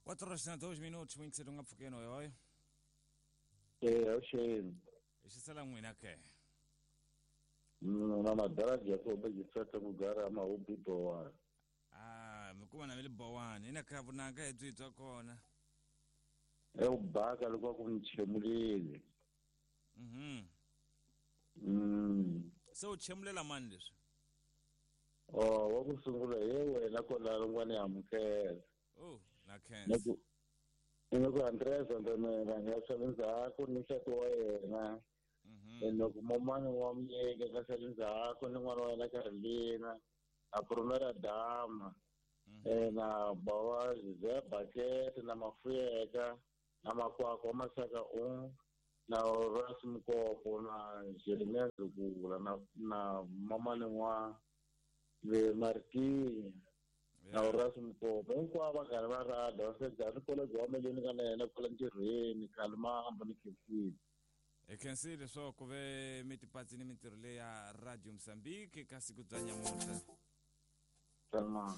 Quatro horas e 2 minutos, n'wingiseri u nga pfukeni oyoyo. Eh, avuxeni. Hi xisela n'wina ke. Na madala Jacob Jifeta kugara mahubi bowani. Ah, mi kuma na mi le bowani ina kha vunanga hi byi bya kona. Ekubaka loko ku ni chemulile. Se u chemulela mani leswi? Oh, wa ku sungula hi wena kwalano n'wana ya amukela. Oh, na Ni khensa. ku ni ku Andres Ndemela ya swa ndzhaku ni nsati wa yena. Loko momani wa muyeke ka swa ndzhaku ni n'wana wa yena Carolina na Promera Dama. Na bawa Ze Bucket na Mafuyeka na Makwakwa Masaka u na Ras Mkopo na Jeremiah Zukula na mamani wa le Martini na Ras Mkopo hinkwavo va karhi va rada va sedza ni kolege wa meleni ka na yena kwala ntirhweni khale ma ni khensile. Hi khensile swo ku ve mi tipatsini mintirho leyi ya Radio Mozambique ka siku bya nyamuntlha. Salman.